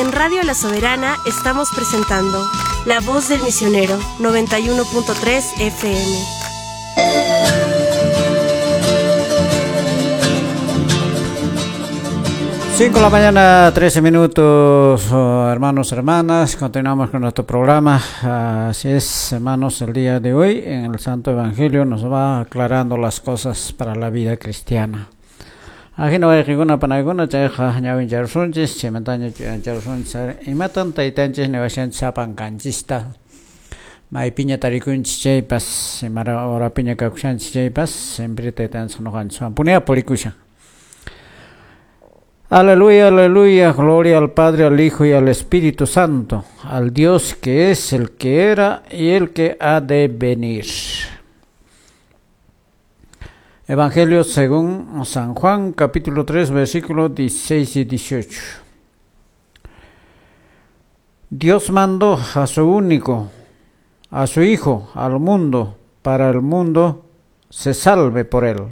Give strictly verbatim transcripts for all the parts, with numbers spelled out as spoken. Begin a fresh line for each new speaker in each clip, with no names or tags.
En Radio La Soberana estamos presentando La Voz del Misionero, noventa y uno punto tres F M.
Cinco de la mañana, trece minutos, oh, hermanos, hermanas, continuamos con nuestro programa. Así es, hermanos, el día de hoy en el Santo Evangelio nos va aclarando las cosas para la vida cristiana. Ajino wayqikuna panaykuna chayqa ñawincharsunchis, chaymantaña chuyancharsunchis, imatan taytanchis niwashanchis sapankanchista, maypiña tarikunchis chaypas, imara horapiña kakushanchis chaypas, siempre taytanchis ñuqanchiswan punia purikushan. Aleluya, aleluya, gloria al Padre, al Hijo y al Espíritu Santo, al Dios que es, el que era y el que ha de venir. Evangelio según San Juan, capítulo tres, versículos dieciséis y dieciocho. Dios mandó a su único, a su Hijo, al mundo, para el mundo se salve por él.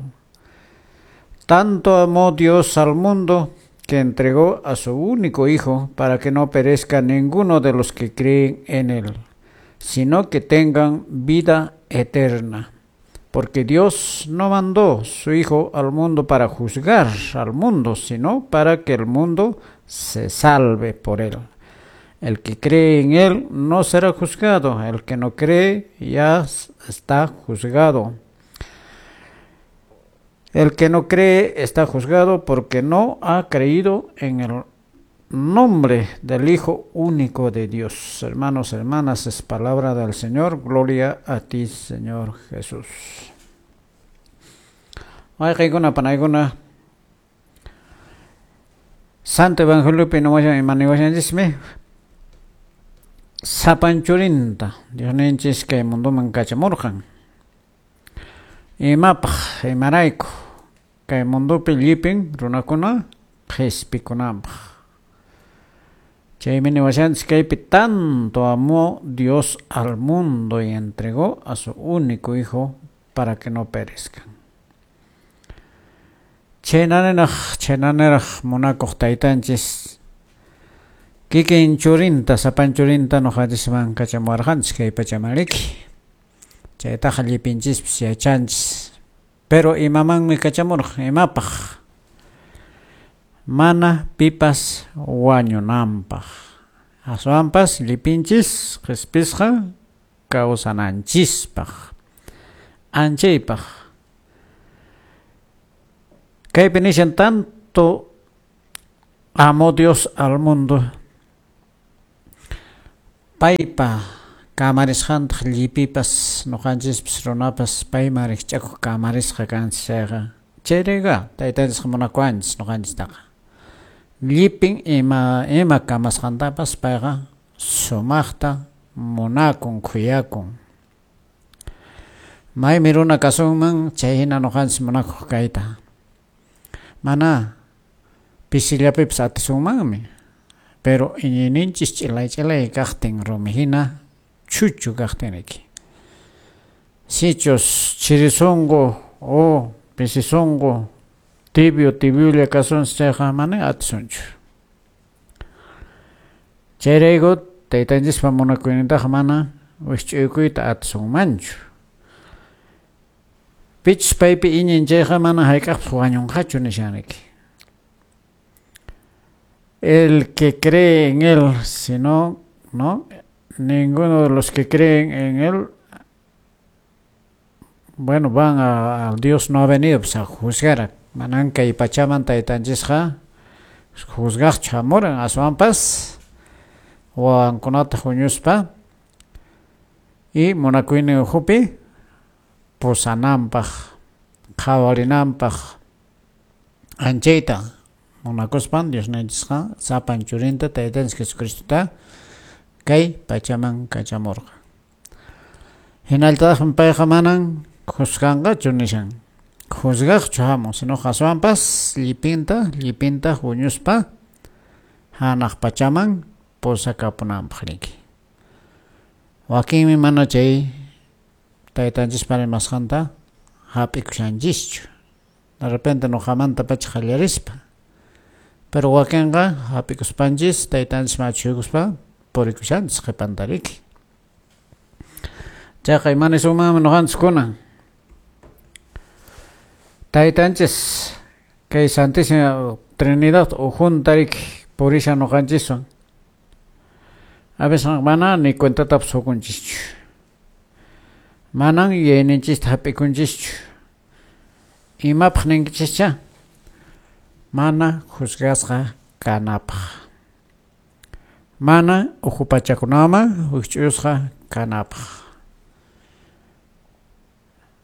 Tanto amó Dios al mundo que entregó a su único Hijo para que no perezca ninguno de los que creen en él, sino que tengan vida eterna. Porque Dios no mandó su Hijo al mundo para juzgar al mundo, sino para que el mundo se salve por él. El que cree en él no será juzgado, el que no cree ya está juzgado. El que no cree está juzgado porque no ha creído en el nombre del Hijo único de Dios. Hermanos, hermanas, es palabra del Señor. Gloria a ti, Señor Jesús. Santo Evangelio pinomashan imaniwashanchismi sapanchurinta Diosninchis kay mundoman kachamurqan. Imapaq imarayku kay mundopi llipin runakuna qhispikunanpaq. Chaymi niwashanchis kaypi tanto amó Dios al mundo y entregó a su único Hijo para que no perezcan. Chaynaninaq chaynaninaq munakuq taytanchis kikin churinta sapanchurinta ñuqanchisman kachamuwarqanchis kay pachamanriki. Chaytaqa llipinchispis yachanchis. Pero imamanmi kachamurqan, imapaq? Mana pipas wañunanpaq. Aswanpas llipinchis qhispisqa kawsananchispaq, anchaypaq. Kaypi nishan tanto amó Dios al mundo, paypa kamarisqantaq llipipas ñuqanchispis runapas payman rikch'akuq kamarisqa kanchis chayqa. Chayrayqa taytanchisqa munakuwanchis ñuqanchistaqa. Llipin ima ima kamasqantapas payqa sumaqta munakun, khuyakun. Maymi runa kasunman chayhina ñuqanchis munakuq kayta. Mana pisillapipas atisunmanmi, pero iñiyninchis ch'ilay ch'ilay kaqtin rumihina chuchu kaqtinriki. Sichus chirisunqu o pisisunqu tibio tibiolla kasunchis chayqa mana atisunchu. Chayrayku taytanchispa munakuynintaqa mana wikch'uykuyta atisunmanchu. Pichus paypi iñin chayqa mana hayk'aqpas wañunqachu nishanriki. El que cree en él, si no, no, ninguno de los que creen en él, bueno, van a, a Dios no ha venido pues, a juzgar. Manan kay pachaman taytanchisqa juzgaqchu hamuran aswanpas wawankunata huñuspa y munakuynin ukhupi pusananpaq, qhawarinanpaq anchayta munakuspan Diosninchisqa sapan churinta taytanchis Jesucristota kay pachaman kachamurqa. Hinallataqmi payqa manan juzganqachu nishan. Juzgaqchu hamun, sino aswanpas llipinta, llipinta huñuspa hanaq pachaman pusakapunanpaq riki. Wakinmi mana chay taytanchispa rimasqanta hap'ikushanchischu. De repente ñuqamanta pacha qallarispa Pero wakinqa hap'ikuspanchis taytanchis machuykuspa purikushanchis qhipantariki. Chayqa imanisunmanmi ñuqanchis kunan. Taytanchis kay Santísima Trinidad ukhuntariki purishan ñuqanchiswan. A veces mana ni cuentatapas hukunchischu. Manan yuyayninchista hap'ikunchischu. Imapaq ninkichischa? Mana juzgasqa kanapaq. Mana ukhu pachakunaman wikch'usqa kanapaq.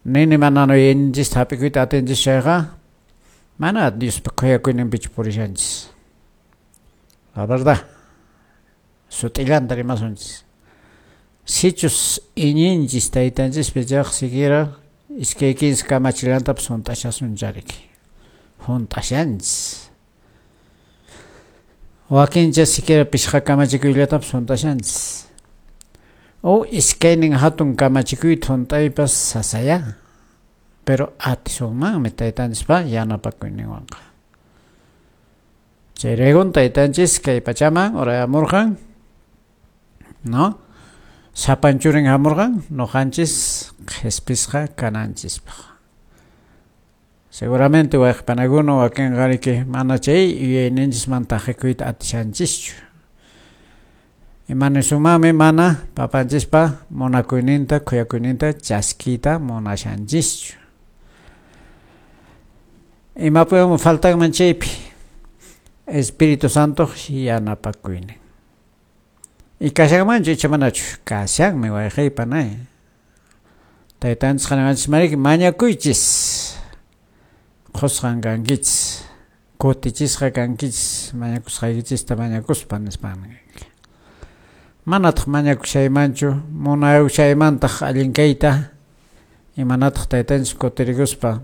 Nini mana yuyayninchista hap'ikuyta atinchis chayqa mana Diospa khuyakuyninpichu purishanchis. La verdad, sut'illanta rimasunchis. Sichus iñinchis taytanchispi chayqa siquiera iskay kinsa kamachillantapas hunt'ashasun chariki. Hunt'ashanchis. Wakincha siquiera pishqa kamachikuyllatapas hunt'ashanchis. O iskaynin hatun kamachikuyta hunt'aypas sasaya. Pero atisunmanmi taytanchispa yanapakuyninwanqa. Chayraykun taytanchis kay pachaman urayamurqan, ¿no? Sapan churin hamurqan ñuqanchis qhispisqa kananchispaq. Seguramente wayqipanakuna wakinqa mana chay yuyayninchisman taqikuyta atishanchischu. Imanisumanmi mana papanchispa munakuyninta khuyakuyninta chaskiyta munashanchischu. Imapiwanmi faltanman chaypi Espíritu Santo yanapakuynin. Y kashanmanchu icha manachu? Kashanmi wayqiypanay. Taytanchis niwanchis mariki mañakuychis. Qusqan kankichis, kutichisqa kankichis, mañakusqaykichista mañakuspa nispan. Manataq mañakushaymanchu, munayushaymantaq allin kayta, imanataq taytanchis kutirikuspa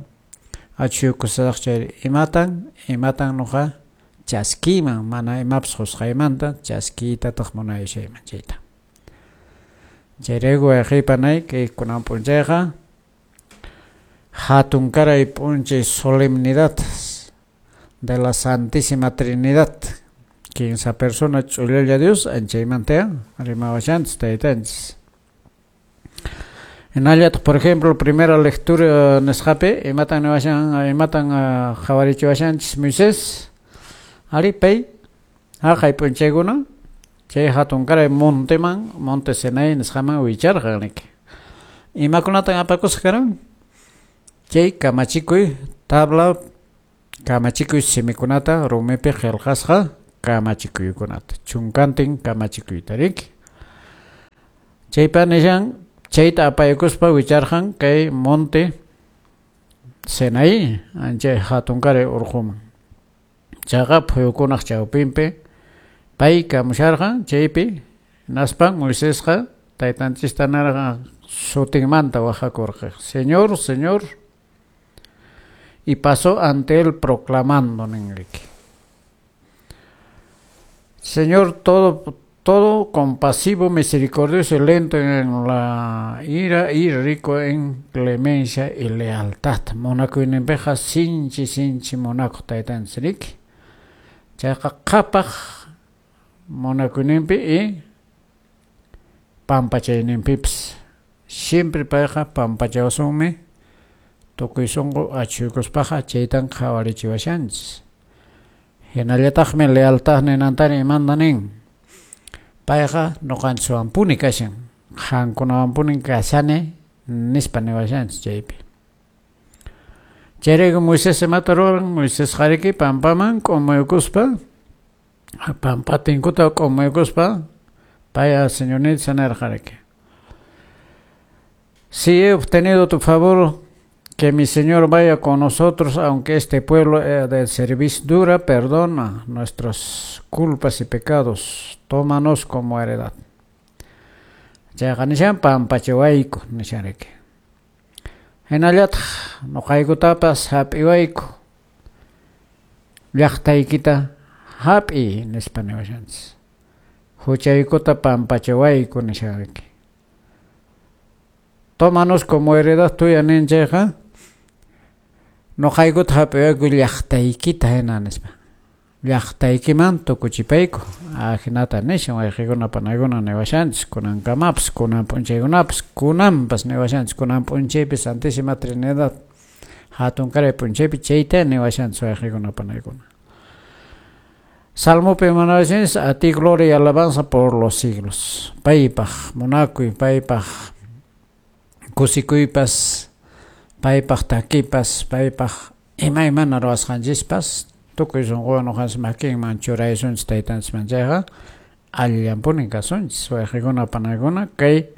achuykusaq chayri imatan, imatan nuqa chaskiyman, mana imapas qusqaymanta chaskiytataq munayushayman chayta. Chayrayku wayqiypanay kay kunan p'unchayqa hatunkaray p'unchay solemnidad de la Santísima Trinidad. Kinsa persona ch'ullalla Dios anchaymanta rimawashanchis taytanchis. Hinallataq, por ejemplo, primera lectura nisqapi imatan niwashan, imatan qhawarichiwashanchis Moisés ari pay haqay p'unchaykuna chay hatunkaray monteman, Monte Sinai nisqaman wicharqan niki. Imakunatan apakusqa karan? Chay kamachikuy tabla kamachikuy simikunata rumipi qillqasqa kamachikuykunata chunkantin kamachikuyta riki. Chaypa nishan chayta apaykuspa wicharqan kay Monte Sinai anchay hatunkaray urquman. Chayqa phuyukunaq chawpinpi pay kamusharqan chaypi hinaspan Moisesqa taytanchista nirqan sutinmanta wahakurqa. Señor, Señor. Y pasó ante él proclamando ninriki. Señor, todo, todo compasivo, misericordioso y lento en la ira y rico en clemencia y lealtad. Munakuyninpiqa sinchi sinchi munakuq taytanchis riki. Chayqa qhapaq munakuyninpi y pampachayninpipas. Siempre payqa pampachawasunmi tukuy sunqu achuykuspaqa chaytan qhawarichiwashanchis. Hinallataqmi lealtad ninantari imanta nin. Payqa ñuqanchiswanpuni kashan, qankunawanpuni kashani nispa niwashanchis chaypi. Chayrayku Moisés imata ruran? Moisés qariki pampaman k'umuykuspa, pampatinkuta k'umuykuspa pay Señorninchis nirqa riki. Si he obtenido tu favor, que mi Señor vaya con nosotros, aunque este pueblo de cerviz dura, perdona nuestras culpas y pecados, tómanos como heredad. Chayqa nishan pampachiwayku nishan riki. Hinallataq ñuqaykutapas hap'iwayku llaqtaykita hap'iy nispa niwashanchis. Huchaykuta pampachiwayku nishan riki. Tómanos como heredad tuya nin chayqa ñuqaykuta hap'iwayku llaqtaykita hina nispa. Llaqtaykiman tukuchipayku. Ajinata nishan wayqikuna panaykuna niwashanchis kunankamapas, kunan p'unchaykunapas, kunanpas niwashanchis, kunan p'unchaypi Santísima Trinidad hatunkaray p'unchaypi chayta niwashanchis wayqikuna panaykuna. Salmopi manawashanchis, a ti gloria y alabanza por los siglos. Paypaq munakuy, paypaq kusikuypas, paypaq takipas, paypaq imaymana ruwasqanchispas, tukuy sunquwan nuqanchis makinman churaysunchis taytanchisman chayqa allillanpunin kasunchis wayqikuna panaykuna kay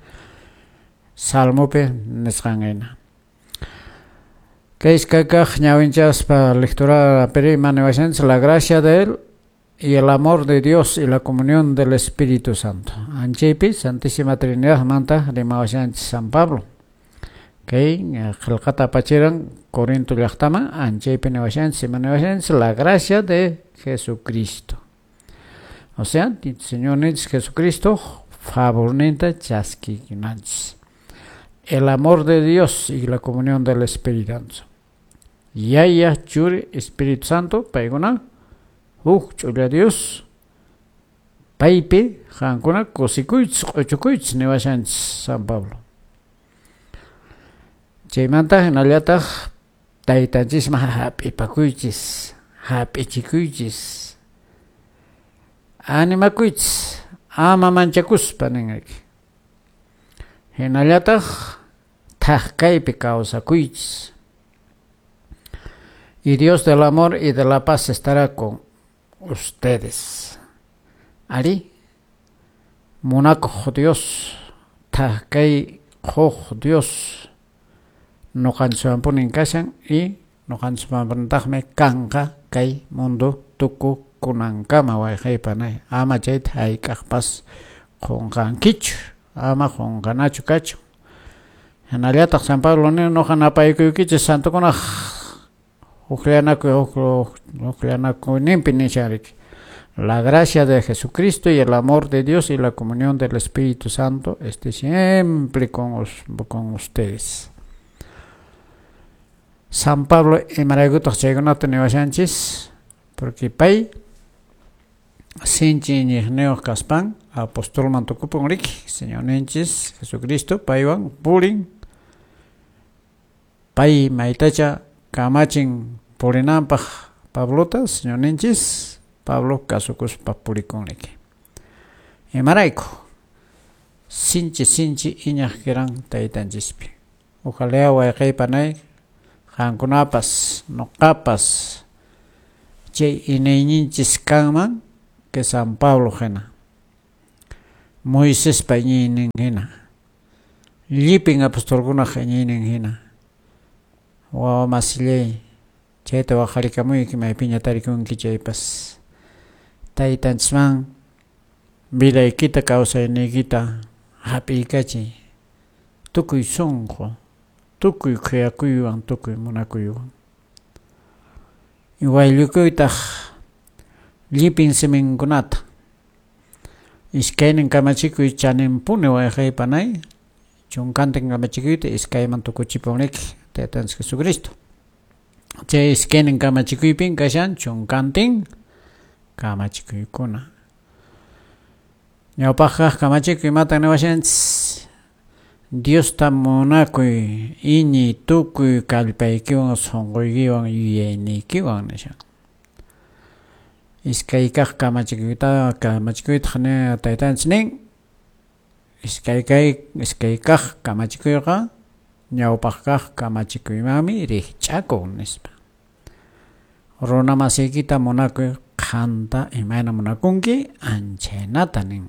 Salmopi nisqan hina. Kay iskay kaq ñawinchaspa lectura peri maniwashanchis la gracia de él y el amor de Dios y la comunión del Espíritu Santo. Anchaypi Santísima Trinidad manta rimawashanchis San Pablo. Kay qillqata apachiran Corinto llaqtaman anchaypi niwashanchis maniwashanchis la gracia de Jesucristo. O sea, Señor Jesucristo favorninta chaskikunanchis. El amor de Dios y la comunión del Espíritu Santo. Yaya Churi Espíritu Santo paykuna huk ch'ulla Dios paypi qankuna kusikuychis q'uchukuychis niwashanchis San Pablo. Chaymanta hinallataq taytanchisman hap'ipakuychis, hap'ichikuychis, animakuychis, ama manchakuspa ninriki. Hinallataq thak kaypi kawsakuychis. Y Dios del amor y de la paz estará con ustedes. Ari, munakuq Dios, thak kay quq Dios, nuqanchikwanpunin kashan y nuqanchikwanpunitaqmi kanqa kay mundo tukukunankama wayqaypanay. Ama chayta hayk'aqpas qunqankichu, ama qunqanachu kachun. Hinallataq San Pablo nin nuqa napaykuykichis santokunaq hukllanakuy hukllanakuyninpi nishan riki. La gracia de Jesucristo y el amor de Dios y la comunión del Espíritu Santo esté siempre con, con ustedes. San Pablo imaraykutaq chaykunata niwashanchis, porque pay sinchi iñiqniyuq kaspan apostolman tukupun riki, Señorninchis Jesucristo paywan purin, pay maytacha kamachin purinanpaq Pablota, Señorninchis Pablo kasukuspa purikun riki. Imarayku sinchi sinchi iñaq kiran taytanchispi. Ojalá wayqaypanay qankunapas nuqapas chay iñiyninchis kanman que San Pablo hina, Moisespa iñiynin hina, llipin apostolkunaq iñiynin hina. Wawa masillay, chayta waqharikamuyki maypiña tarikunki chaypas. Taytanchisman vidaykita kawsayniykita hap'iykachiy tukuy sunqu, tukuy khuyakuywan, tukuy munakuywan. Wayllukuytaq llipin siminkunata. Iskaynin kamachikuy chaninpuni wayqaypanay, chunkantin kamachikuyta iskayman tukuchipunriki Taytanchis Jesucristo. Chay iskaynin kamachikuypin kashan chunkantin kamachikuykuna. Ñawpaqkaq kamachikuy imatan niwashanchis? Diosta munakuy iñiy tukuy kallpaykiwan sunquykiwan yuyayniykiwan nishan. Iskay kaq kamachikuyta kamachikuytaq ni taytanchis nin iskay kay iskay kaq kamachikuyqa ñawpaq kaq kamachikuymanmi rikch'akun nispa. Runa masiykita munakuy qanta imayna munakunki anchaynata nin.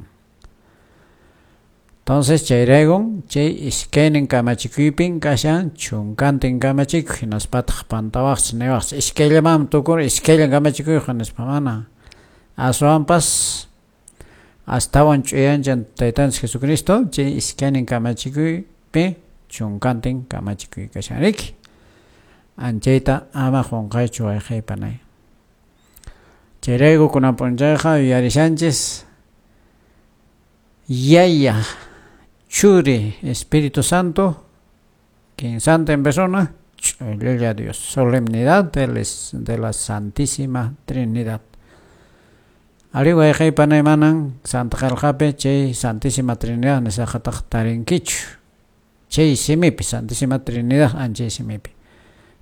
Entonces chayraykun chay iskaynin kamachikuypin kashan chunkantin kamachikuy hinaspataq pantawaqchis niwaqchis iskayllamanmi tukun iskayllan kamachikuyqa nispa mana. Aswanpas astawan ch'uyanchan Taytanchis Jesucristo chay iskaynin kamachikuypi chunkantin kamachikuy kashan riki. Anchayta ama qunqaychu wayqaypanay. Chayrayku kunan p'unchayqa yuyarishanchis Yaya, Churi, Espíritu Santo, Santa en persona, ch'ullalla Dios, solemnidad de, les, de la Santísima Trinidad. Ari wayqey panay manan Santa Qelqapi chay Santísima Trinidad nisqataq tarinkichu. Chay simipi Santísima Trinidad anchay simipi.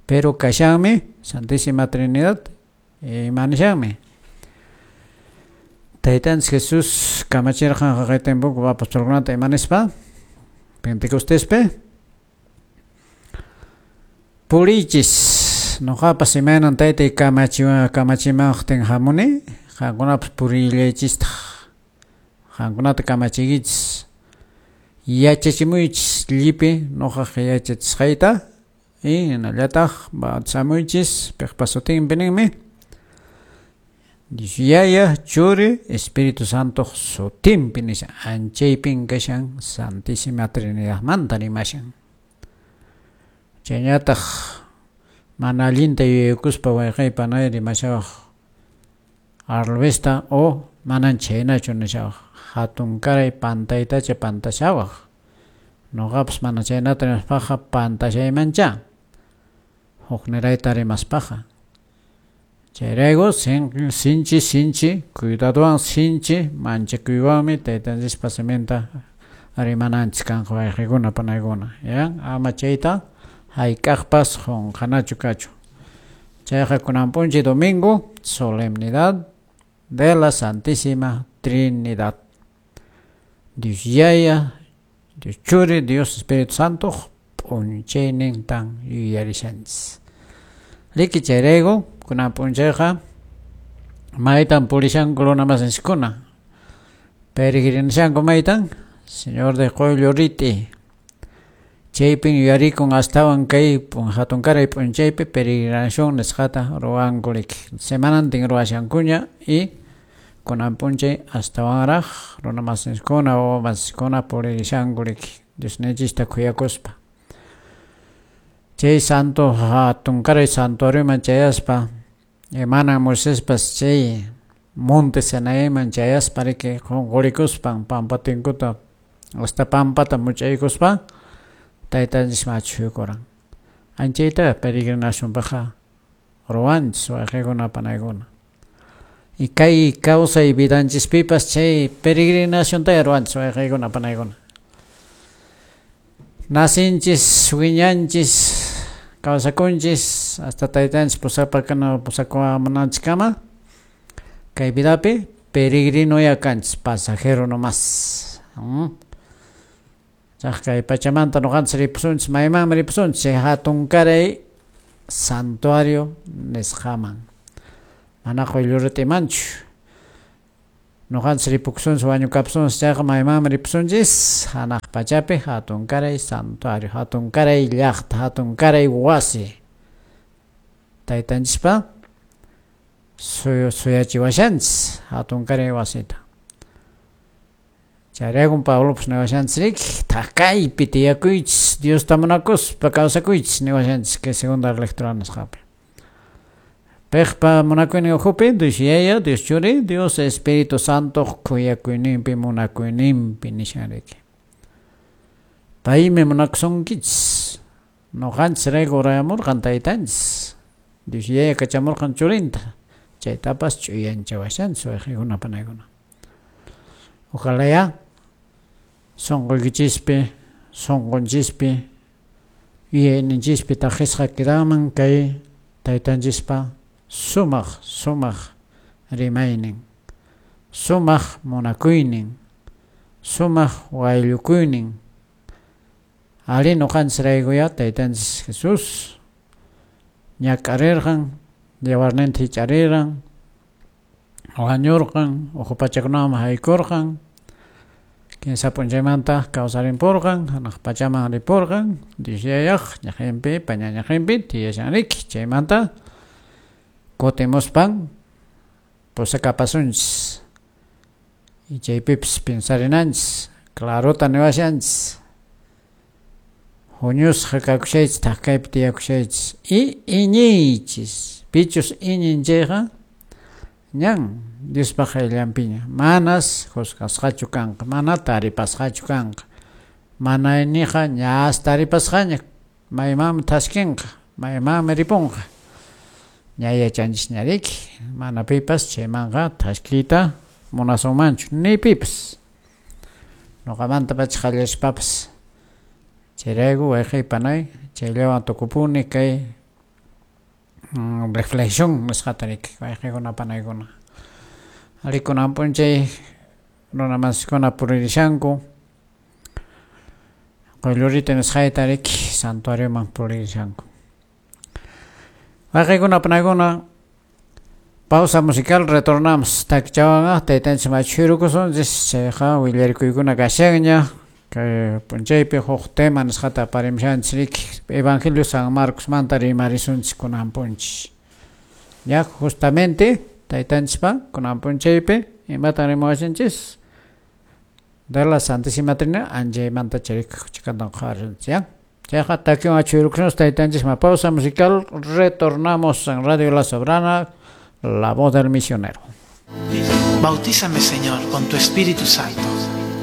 Pero kashanmi Santísima Trinidad imanishanmi. Taytanchis Jesús kamachirqan haqay tiempopi apostolkunata imanispa Pentecostespi puriychis noqapas imaynan taytay kamachiwan kamachimaqtin hamuni qankunapas puriyllaychistaq qankunata kamachiykichis yachachimuychis llipi noqaq yachachisqayta y hinallataq bautizamuychis piqpa sutinpi ninmi Dios Yaya, Churi, Espíritu Santo sutinpi nisha anchaypin kashan Santísima Trinidadmanta rimashan. Chayñataq mana allinta yuyaykuspa wayqey panay rimashawaq arlvista o manan chhaynachu nishawaq hatunkaray pantaytacha pantashawaq noqapas mana chaynata rimaspaqa pantashaymancha huknirayta rimaspaqa. Chayrayku sinchi sinchi cuidadowan sinchi manchakuywanmi taytanchispa siminta rimananchis kanqa wayqikuna panaykuna ya ama chayta hayk'aqpas qunqanachu kachun. Chayqa kunan p'unchay domingo solemnidad de la Santísima Trinidad. Dios Yaya, Dios Churi, Dios Espíritu Santo p'unchaynintan yuyarishanchis. Riki chayrayku kunan p'unchayqa maytan purishanku runa masinchiskuna peregrinashanku maytan Señor de Qoyllur Rit'i chaypin yuyarikun astawan kay hatunkaray p'unchaypi peregrinación nisqata ruwanku riki semanantin ruwashankuña y kunan p'unchay astawanraq runa masinchiskuna wawa masinchiskuna puririshanku riki Diosninchista khuyakuspa. Chay santo hatunkaray santuarioman chayaspa imanan Moisespas chay monte Sinaiman chayaspa riki qunqurikuspan pampatinkuta hasta pampata much'aykuspa taytanchisman achhuykuran. Anchayta peregrinacionpaqqa ruwanchis wayqikuna panaykuna. Y kay kawsay vidanchispipas chay peregrinacionta ruwanchis wayqikuna panaykuna. Nacinchis, wiñanchis, kawsakunchis hasta taytanchis pusapakana pusakuamunanchiskama kay vidapi peregrinoya kanchis pasajero nomás. ¿Mm? Chaq kay pachamanta noqanchis ripusunchis maymanmi ripusunchis chay hatunkaray santuario nisqaman mana Qoyllur Rit'imanchu. Noqanchis ripukusunchis wañukapusunchis chayqa maymanmi ripusunchis hanaq pachapi hatunkaray santuario hatunkaray llaqta hatunkaray wasi taytanchispa suyachiwashanchis hatunkaray wasita. Chayraykun Pablopas niwashanchis riki thakaypi tiyakuychis Diosta munakuspa kawsakuychis niwashanchis kay segunda lectura nisqapi. Piqpa munakuynin ukhupi Dios Yaya, Dios Churi, Dios Espíritu Santo khuyakuyninpi munakuyninpi nishan riki. Paymi munakusunkichis noqanchisrayku urayamurqan taytanchis Dios Yaya kachamurqan churinta chaytapas ch'uyanchawashanchis wayqikuna panaykuna. Ojalá sunquykichispi sunqunchispi yuyayninchispi taqisqa quedaman kay taytanchispa sumaq sumaq rimaynin sumaq munakuynin sumaq wayllukuynin ari noqanchisraykuya taytanchis Jesús ñak'arirqan yawarninta hich'ariran wañurqan uhu pachakunaman haykurqan kinsa p'unchaymanta kawsarimpurqan hanaq pachaman ripurqan Dios Yayaq ñaqinpi pañañaqinpi tiyashan riki chaymanta kutimuspan pusakapasunchis y chaypipas pensarinanchis clarota niwashanchis huñusqa kakushaychis thakaypi tiyakushaychis y iñiychis pichus iñin chayqa ñan Diospaq qayllanpiña manas juzgasqachu kanqa mana taripasqachu kanqa mana iñiqa ñas taripasqaña maymanmi thaskinqa maymanmi ripunqa. Ña yachanchisña riki, mana pipas chaymanqa thaskiyta munasunmanchu, ni pipas. Ñuqamantapacha qallarishpapas. Chayrayku wayqiy panay chayllawan tukupuni kay reflexión nisqata riki wayqiykuna panaykuna. Rikunan p'unchay runa masiskuna puririshanku quyllurita nisqayta riki santuarioman puririshanku. Wayqiykuna panaykuna pausa musical retornamos takichawanqa taytanchik machuyrukusunchis chayqa willarikuykuna kashanña kay p'unchaypi huk tema nisqata aparimushanchis riki Evangelio San Marcosmanta rimarisunchis kunan p'unchay. Ya justamente taytanchispa kunan p'unchaypi imatan rimawasunchis de la Santísima Trinidad anchaymanta charik chikantan qhawarinchis ya. Chayqa takiwan achuyrukusunchis taytanchisma pausa musical retornamos en Radio La Soberana, la voz del misionero.
Bautízame, Señor, con tu Espíritu Santo.